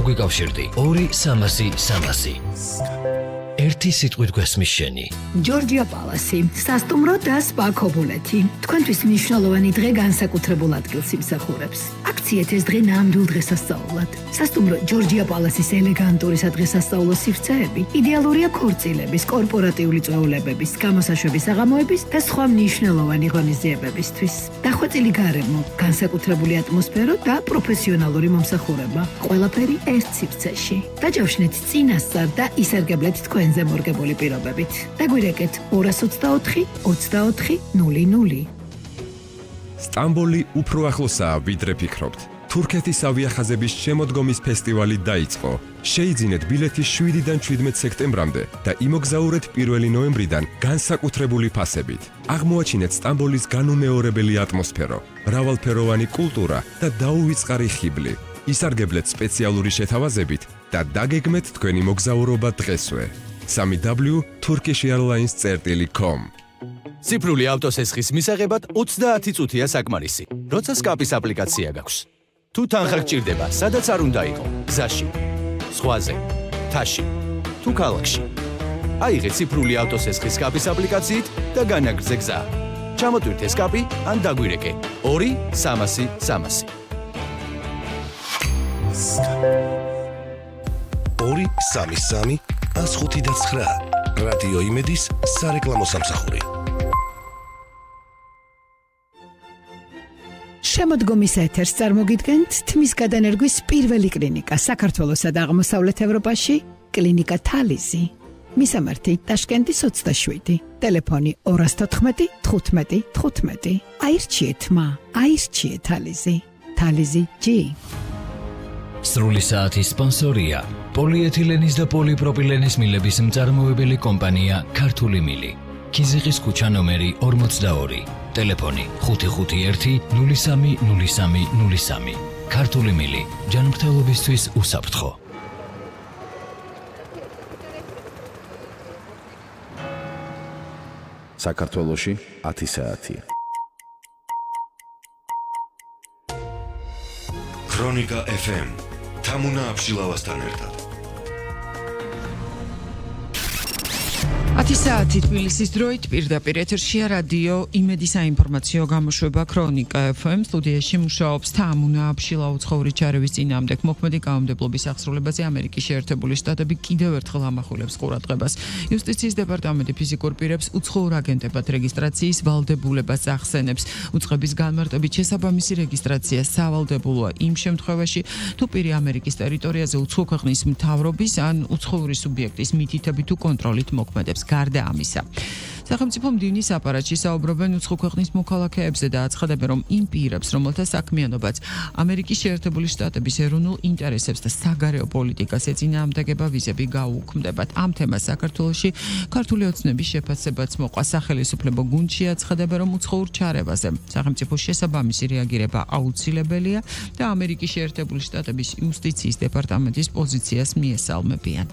დაგვიკავშირდი 2-300-300. ერთი სიტყვით გვესმის შენი. ჯორჯია პალასი, სასტუმრო და სპა ქობულეთი. თქვენთვის მნიშვნელოვანი დღე განსაკუთრებულ ადგილს იმსახურებს. აქციეთ ეს დღე ნამდვილ დღესასწაულად. სასტუმრო ჯორჯია პალასის ელეგანტური სადღესასწაულო სივრცეები იდეალურია ქორწილების, კორპორატიული წვეულებების, გამოსაშვების საღამოების და სხვა მნიშვნელოვანი ღონისძიებებისთვის. დახვეწილი გარემო, განსაკუთრებული ატმოსფერო და პროფესიონალური მომსახურება. ყველაფერი ერთ სივრცეში. დაჯავშნეთ წინასწარ და ისარგებლეთ თქვენზე მორგებული პირობებით. დაგვირეკეთ 224 24 00. სტამბოლი უფრო ახლოსაა, ვიდრე ფიქრობთ. თურქეთის ავიახაზების შემოდგომის ფესტივალი დაიწყო. შეიძინეთ ბილეთი 7-დან 17 სექტემბრამდე და იმოგზაურეთ 1 ნოემბრიდან განსაკუთრებული ფასებით. აღმოაჩინეთ სტამბოლის განუმეორებელი ატმოსფერო, მრავალფეროვანი კულტურა და დაუვიწყარი ხიბლი. ისარგებლეთ სპეციალური შეთავაზებით და დაგეგმეთ თქვენი მოგზაურობა დღესვე. www.turkishairlines.com. ციფრული ავტოსესხის მისაღებად 30 წუთია საკმარისი, როცა სკაპის აპლიკაცია გაქვს. თუ თანხა გჭირდება, სადაც არ უნდა იყო, გზაში, ზღვაზე, მთაში, თუ ქალაქში. აიღე ციფრული ავტოსესხის სკაპის აპლიკაციით და განაგრძე გზა. ჩამოტვირთე სკაპი ან დაგვირეკე 2-300-300. 2-3-3-105-9 რადიო იმედის სარეკლამო სამსახური. შემოდგომის ეთერს წარმოგიდგენთ თმის გადანერგვის პირველი კლინიკა საქართველოსა და აღმოსავლეთ ევროპაში, კლინიკა თალიზი. მისამართი ტაშკენტის 27, ტელეფონი 214 15 15. აირჩიეთ მა, აირჩიეთ თალიზი. თალიზი G. სრული საათის სპონსორია პოლიეთილენის და პოლიპროპილენის მილების მწარმოებელი კომპანია ქართული მილი. ქიზიყის ქუჩა ნომერი 42, ტელეფონი 551 03 03 03. ქართული მილი, ჯანმრთელობისთვის უსაფრთხო. საქართველოში 10 საათი. ქრონიკა FM. თამუნა აბშილავასთან ერთად. 10 საათი თბილისის დროით პირდაპირ ეთერშია რადიო იმედი საინფორმაციო გამოშვება ქრონიკა FM. სტუდიაში მუშაობს თამუნა აბშილა. უცხოური ჩარევის წინააღმდეგ მოქმედი კანონმდებლობის აღსრულებაზე ამერიკის შეერთებული შტატები კიდევ ერთხელ ამახვილებს ყურადღებას. იუსტიციის დეპარტამენტი ფიზიკურ პირებს უცხოურ აგენტებად რეგისტრაციის ვალდებულებას ახსენებს. უწყების განმარტებით შესაბამისი რეგისტრაცია სავალდებულოა იმ შემთხვევაში, თუ პირი ამერიკის ტერიტორიაზე უცხო ქვეყნის მთავრობის ან უცხოური სუბიექტის მითითებით თუ კონტროლით მოქმედებს. გარდა ამისა, სახელმწიფო მდივნის აპარატში საუბრობენ უცხო ქვეყნის მოქალაქეებზე და აცხადებენ, რომ იმ პირებს, რომელთა საქმიანობაც ამერიკის შეერთებული შტატების ეროვნულ ინტერესებს და საგარეო პოლიტიკას ეწინააღმდეგება ვიზები გაუქმდებათ. ამ თემას საქართველოში ქართული ოცნების შეფასებაც მოყვა. სახელმწიფო გუნდში აცხადებენ, რომ უცხოურ ჩარევაზე სახელმწიფოს შესაბამისი რეაგირება აუცილებელია და ამერიკის შეერთებული შტატების იუსტიციის დეპარტამენტის პოზიციას მიესალმებიან.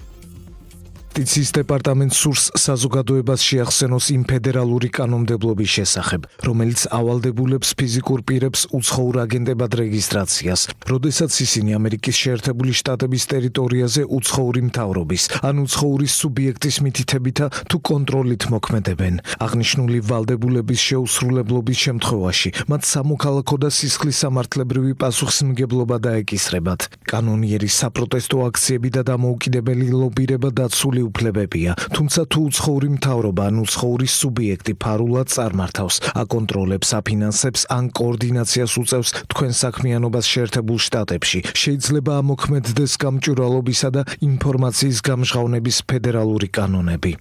იუსტიციის დეპარტამენტს სურს საზოგადოებას შეახსენოს იმ ფედერალური კანონმდებლობის შესახებ, რომელიც ავალდებულებს ფიზიკურ პირებს უცხოურ აგენტებად რეგისტრაციას, როდესაც ისინი ამერიკის შეერთებული შტატების ტერიტორიაზე უცხოური მთავრობის ან უცხოური სუბიექტის მითითებითა თუ კონტროლით მოქმედებენ. აღნიშნული ვალდებულების შეუსრულებლობის შემთხვევაში მათ სამოქალაქო და სისხლის სამართლებრივი პასუხისმგებლობა დაეკისრებათ. კანონიერი საპროტესტო აქციები და დამოუკიდებელი ლობირება დაცული უფლებებია, თუმცა თუ უცხოური მთავრობა ან უცხოური სუბიექტი ფარულად წარმართავს, აკონტროლებს, აფინანსებს ან კოორდინაციას უწევს თქვენ საქმიანობას შეერთებულ შტატებში, შეიძლება ამოქმედდეს გამჭვირვალობისა და ინფორმაციის გამჟღავნების ფედერალური კანონები.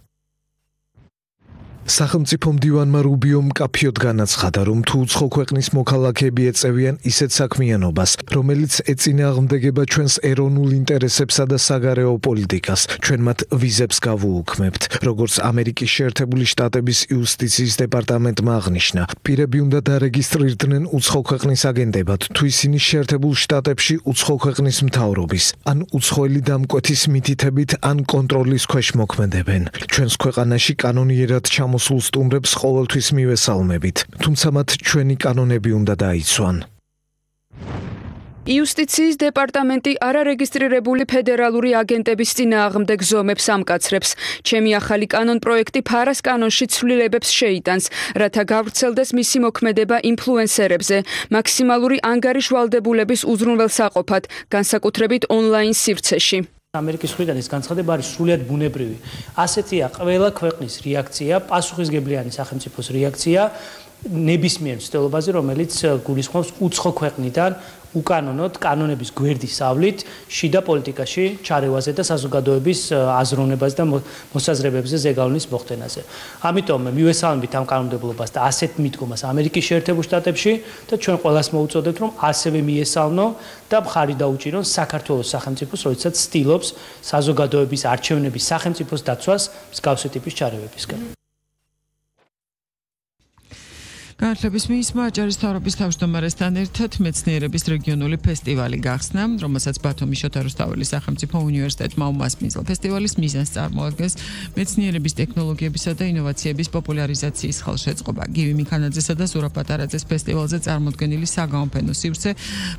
სახელმწიფო მდივანმა რუბიომ მკაფიოდ განაცხადა, რომ თუ უცხო ქვეყნის მოქალაქეები ეწევიან ისეთ საქმიანობას, რომელიც ეწინააღმდეგება ჩვენს ეროვნულ ინტერესებსა და საგარეო პოლიტიკას, ჩვენ მათ ვიზებს გავუუქმებთ. როგორც ამერიკის შეერთებული შტატების იუსტიციის დეპარტამენტმა აღნიშნა, პირები უნდა დარეგისტრირდნენ უცხო ქვეყნის აგენტებად, თუ ისინი შეერთებულ შტატებში უცხო ქვეყნის მთავრობის ან უცხოელი დამკვეთის მითითებით ან კონტროლის ქვეშ მოქმედებენ. ჩვენს ქვეყანაში კანონიერად მოსულ სტუმრებს ყოველთვის მივესალმებით, თუმცა მათ ჩვენი კანონები უნდა დაიცვან. იუსტიციის დეპარტამენტი არარეგისტრირებული ფედერალური აგენტების წინააღმდეგ ზომებს ამკაცრებს. ჩემი ახალი კანონ პროექტი ფარას კანონში ცვლილებებს შეიტანს, რათა გავრცელდეს მისი მოქმედება ინფლუენსერებზე, მაქსიმალური ანგარიშვალდებულების უზრუნველსაყოფად, განსაკუთრებით ონლაინ სივრცეში. ამერიკის მხრიდან ეს განცხადება არის სრულიად ბუნებრივი. ასეთია ყველა ქვეყნის რეაქცია, პასუხისგებლიანი სახელმწიფოს რეაქცია ნებისმიერ მცდელობაზე, რომელიც გულისხმობს უცხო ქვეყნიდან უკანონოდ კანონების გვერდისავლით შიდა პოლიტიკაში ჩარევაზე და საზოგადოების აზროვნებაზე და მოსაზრებებზე ზეგავლენის მოხდენაზე. ამიტომ მივესალმებით ამ კანონმდებლობას და ასეთ მიდგომას ამერიკის შეერთებულ შტატებში და ჩვენ ყველას მოუწოდებთ, რომ ასევე მიესალმო და მხარი დაუჭირონ საქართველოს სახელმწიფოს, როდესაც ცდილობს საზოგადოების არჩევნების სახელმწიფოს დაცვას მსგავსი ტიპის ჩარევებისგან. განათლების მინისტრმა აჭარის მთავრობის თავმჯდომარესთან ერთად მეცნიერების რეგიონული ფესტივალი გახსნა, რომელსაც ბათუმის შოთა რუსთაველის სახელმწიფო უნივერსიტეტმა უმასპინძლა. ფესტივალის მიზანს წარმოადგენს მეცნიერების, ტექნოლოგიებისა და ინოვაციების პოპულარიზაციის ხელშეწყობა. გივი მიქანაძესა და ზურაბ პატარაძეს ფესტივალზე წარმოდგენილი საგაოფენო სივრცე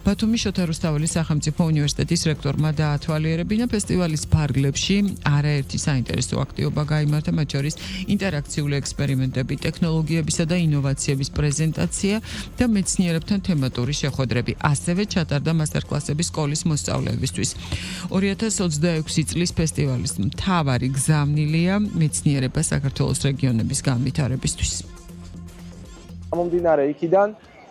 ბათუმის შოთა რუსთაველის სახელმწიფო უნივერსიტეტის რექტორმა დაათვალიერებინა. ფესტივალის ფარგლებში არაერთი საინტერესო აქტივობა გაიმართა, მათ შორის ინტერაქციული ექსპერიმენტები, ტექნოლოგიებისა და ინოვაციების პრეზენტაცია და მეცნიერებთან თემატური შეხვედრები. ასევე ჩატარდა მასტერკლასები სკოლის მოსწავლეებისთვის. 2026 წლის ფესტივალის მთავარი გზავნილია მეცნიერება საქართველოს რეგიონების განვითარებისთვის. გამომდინარე იქიდან,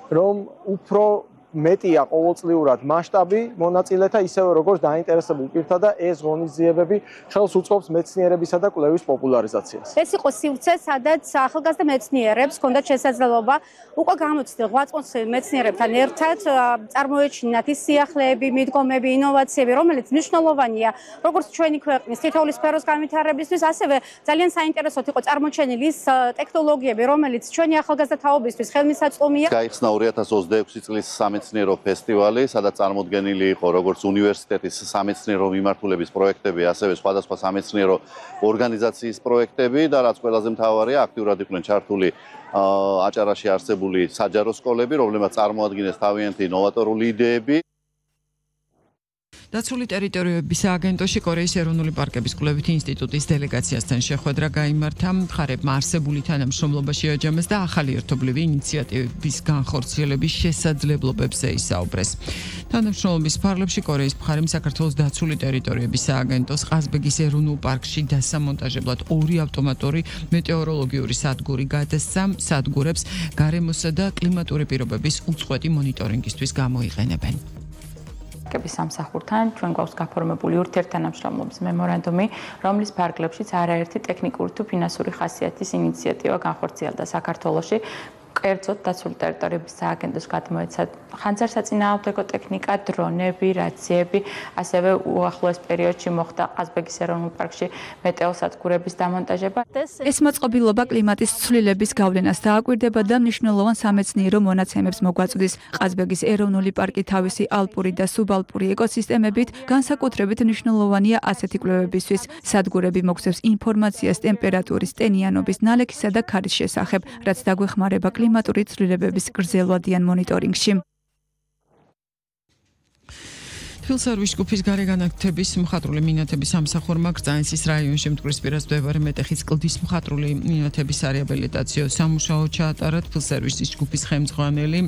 რომ უფრო მეტია ყოველწლიურად მასშტაბი მონაწილეთა, ისევე როგორც დაინტერესებულ პირთა და ეს ღონისძიებები ხელს უწყობს მეცნიერებისა და კვლევის პოპულარიზაციას. ეს იყო სივრცე, სადაც ახალგაზრდა მეცნიერებს ჰქონდათ შესაძლებლობა უკვე გამოცდილ ღვაწლმოსილ მეცნიერებთან ერთად წარმოეჩინათ ის სიახლეები, მიდგომები, ინოვაციები, რომელიც მნიშვნელოვანია როგორც ჩვენი ქვეყნის თითოეული სფეროს განვითარებისთვის, ასევე ძალიან საინტერესოდ იყო წარმოჩენილი ის ტექნოლოგიები, რომელიც ჩვენი ახალგაზრდა თაობისთვის ხელმისაწვდომია. გაიხსნა 2026 წლის სამეცნიერო ფესტივალი, სადაც წარმოდგენილი იყო როგორც უნივერსიტეტის სამეცნიერო მიმართულების პროექტები, ასევე სხვადასხვა სამეცნიერო ორგანიზაციის პროექტები და რაც ყველაზე მთავარია, აქტიურად იყვნენ ჩართული აჭარაში არსებული საჯარო სკოლები, რომლებმაც წარმოადგენს თავიანთი ნოვატორული იდეები. დაცული ტერიტორიების სააგენტოში კორეის ეროვნული პარკების კვლევითი ინსტიტუტის დელეგაციასთან შეხვედრა გაიმართა. მხარებმა არსებული თანამშრომლობაში აჯამეს და ახალი ერთობლივი ინიციატივების განხორციელების შესაძლებლობებზე ისაუბრეს. თანამშრომლობის ფარგლებში კორეის მხარემ საქართველოს დაცული ტერიტორიების სააგენტოს ყაზბეგის ეროვნულ პარკში დასამონტაჟებლად 2 ავტომატური მეტეოროლოგიური სადგური გადასცა. სადგურებს გარემოსა და კლიმატური პირობების უწყვეტი მონიტორინგისთვის გამოიყენებენ. სამსახურთან ჩვენ გვაქვს გაფორმებული ურთიერთთანამშრომლობის მემორანდუმი, რომლის ფარგლებშიც არაერთი ტექნიკური თუ ფინანსური ხასიათის ინიციატივა განხორციელდა საქართველოში. კერძოდ დაცული ტერიტორიების სააგენტოს გადმოეცა ხანძარსაწინააღმდეგო ტექნიკა, დრონები, რაციები, ასევე უახლოეს პერიოდში მოხდა ყაზბეგის ეროვნულ პარკში მეტეოსადგურების დამონტაჟება. ეს მოწყობილობა კლიმატის ცვლილების გავლენას დააკვირდება და მნიშვნელოვან სამეცნიერო მონაცემებს მოგვაწვდის. ყაზბეგის ეროვნული პარკი თავისი ალპური და სუბალპური ეკოსისტემებით განსაკუთრებით მნიშვნელოვანია ასეთი კვლევებისთვის. სადგურები მოგცემს ინფორმაციას ტემპერატურის, ტენიანობის, ნალექისა და ქარის შესახებ, რაც დაგვეხმარება კლიმატური ცვლილებების გრძელვადიან მონიტორინგში. თბილისის ჯგუფის გარეგანათების მხატვრული მინათების სამსახურმა გრძანისის რაიონში მტკვრისპირას მდებარე მეტეხის კლდის მხატვრული მინათების არეაბილიტაციო სამუშაო ჩაატარა. თბილისის ჯგუფის ხელმძღვანელი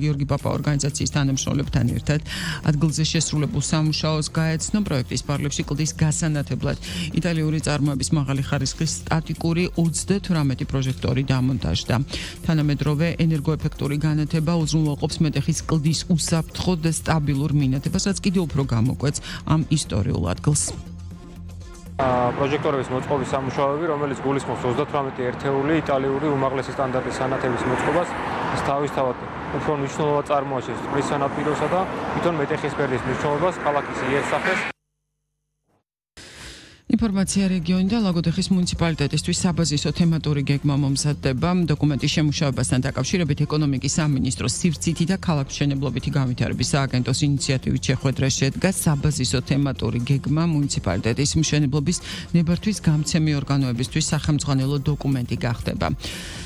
გიორგი პაპა ორგანიზაციის თანამშრომლებთან ერთად ადგილზე შესრულებულ სამუშაოს გაეცნო. პროექტის ფარგლებში კლდის გასანათებლად იტალიური წარმოების მაღალი ხარისხის სტატიკური 38 პროჟექტორი დამონტაჟდა. თანამედროვე ენერგოეფექტური განათება უზრუნველყოფს მეტეხის კლდის უსაფრთხო და სტაბილურ მინათებას, რაც კიდევ უფრო გამოკვეთს ამ ისტორიულ ადგილს. პროჟექტორების მოწყობის სამუშაოები, რომელიც გულისხმობს 38 ერთეული იტალიური უმაღლესი სტანდარტის სანათების მოწყობას, თავისთავად უფრო მნიშვნელოვან წარმოაჩენს წყლის სანაპიროსა და თვითონ მეტეხის ფერდის მნიშვნელობას ქალაქის იერსახეს. ინფორმაცია რეგიონიდან ლაგოდეხის მუნიციპალიტეტისთვის საბაზისო თემატური გეგმა მომზადდება. დოკუმენტის შემუშავებასთან დაკავშირებით ეკონომიკის სამინისტროს სივრცითი და ქალაქმშენებლობითი განვითარების სააგენტოს ინიციატივით შეხვედრა შედგა. საბაზისო თემატური გეგმა მუნიციპალიტეტის მშენებლობის ნებართვის გამცემი ორგანოებისთვის სახელმძღვანელო დოკუმენტი გახდება.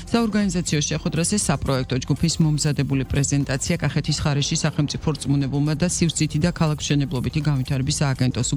საორგანიზაციო შეხვედრაზე საპროექტო ჯგუფის მომზადებული პრეზენტაცია კახეთის ხარეში სახელმწიფო რწმუნებულმა და სივრცითი და ქალაქმშენებლობითი განვითარების სააგენტოს